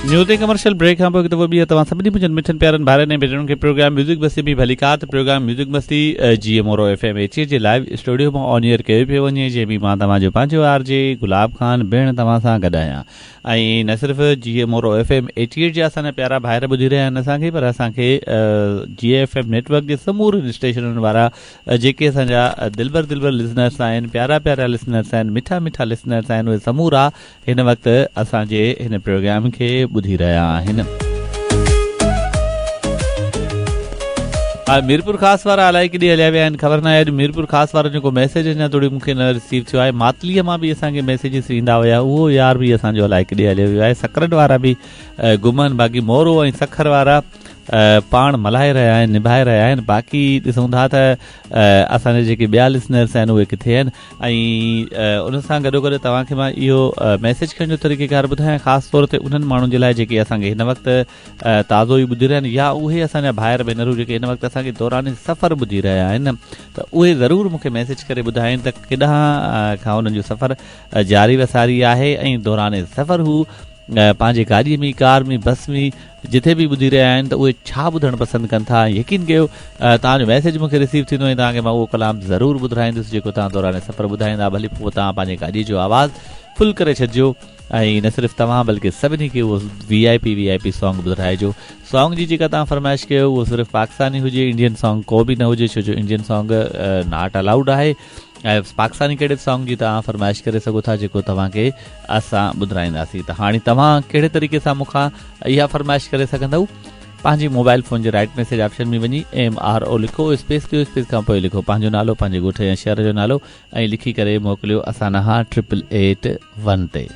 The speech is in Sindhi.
نيو تي ڪمرشل بريڪ کان پوء هڪ دفعو ٻيهر توهان سڀني منهنجن مٺن پيارن ڀائرن ۽ ڀينرن کي پروگرام ميوزڪ مستي ۾ ڀليڪار ته پروگرام ميوزڪ مستي جي مورو ايف ايم ايچ جي لائيو اسٽوڊيو مان آن ايئر ڪيو پيو وڃي جنهن ۾ مان توهان جو پنهنجو آر جي گلاب خان ڀيڻ توهان سان گڏ آهيان ۽ نه صرف جي Moro F M eighty eight جا اسان جا پيارا ڀائر ٻڌي رهيا آهن اسان کي پر اسان کي جي ايف ايم نيٽ ورڪ جي سمورن اسٽيشنن وارا جيڪي اسان جا دلبر دلبر لسنرس آهن پيارا پيارا لسنرس آهن مٺا مٺا لسنرس آهن اهي سمورا هن وقت اسان جي هن پروگرام کي ٻڌي رهيا آهن. ميرپور خاص وارا الائي ڪيڏي هليا ويا آهن خبر ناهي اڄ ميرپور خاص وارن جو ڪو ميسيج اڃا توڙي مون کي نه رسيو ٿيو آهي ماتليء مان به اسان کي ميسيجز ايندا هيا اهو يار به اسان جو الائي ڪيڏي هليو ويو آهي سڪرنڊ وارا به گم آهن باقي مورو ۽ سکر وارا پاڻ ملهائي رهيا آهن نڀائي رهيا آهن باقي ڏسون ٿا ته اسان جا جيڪي ٻيا لسنرس آهن اهي ڪٿي آهن ۽ ان سان گڏو گڏ توهان کي مان اهو ميسيج ڪرڻ جو طريقه ڪار ٻڌايان خاص طور تي انهن ماڻهن جي لاء جيڪي اسان کي هن وقت تازو ئي ٻڌي رهيا آهن يا اهي اسان جا ڀائر ڀينرون جيڪي هن وقت اسان کي دوران سفر ٻڌي رهيا آهن ته اهي ضرور مون کي ميسيج ڪري ٻڌائين ته ڪيڏانهن کان انهن جو سفر جاري و ساري آهي ۽ دوران سفر هو پنهنجي گاڏي ۾ ڪار ۾ بس ۾ جٿي به ٻڌي رهيا آهن ته اهي ڇا ٻڌڻ پسند ڪن ٿا ۽ يقين ڪيو توهان جو ميسيج مون کي رسيو ٿيندو ۽ توهان کي مان اهو ڪلام ضرور ٻڌرائيندس جيڪو توهان دوران سفر ٻڌائيندا ڀلي پوء توهان پنهنجي گاڏي جو آواز فل ڪري ڇڏجو ۽ نه صرف توهان بلڪه سڀني کي اهو V I P V I P song ٻڌرائجو song جي جيڪا توهان فرمائش ڪيو اهو صرف پاڪستاني هجي انڊين سانگ ڪو به نه هجي ڇو جو انڊين سانگ not allowed آهي ۽ پاڪستاني ڪهڙي به سانگ جي توهان فرمائش ڪري سگهو ٿا جيڪو توهان کي اسان ٻڌرائينداسين ته هاڻي توهان ڪهڙي طريقي سان مون کان اها فرمائش ڪري سگهندؤ پنهنجي موبائل فون جي رائٽ ميسيج آپشن ۾ وڃي ايم آر او لکو اسپيس ڏيو اسپيس کان پوء لکو پنهنجو نالو پنهنجي ڳوٺ يا شهر جو نالو ۽ لکي ڪري موڪليو اسان ڏانهن ٽرپل ايٽ ون تي.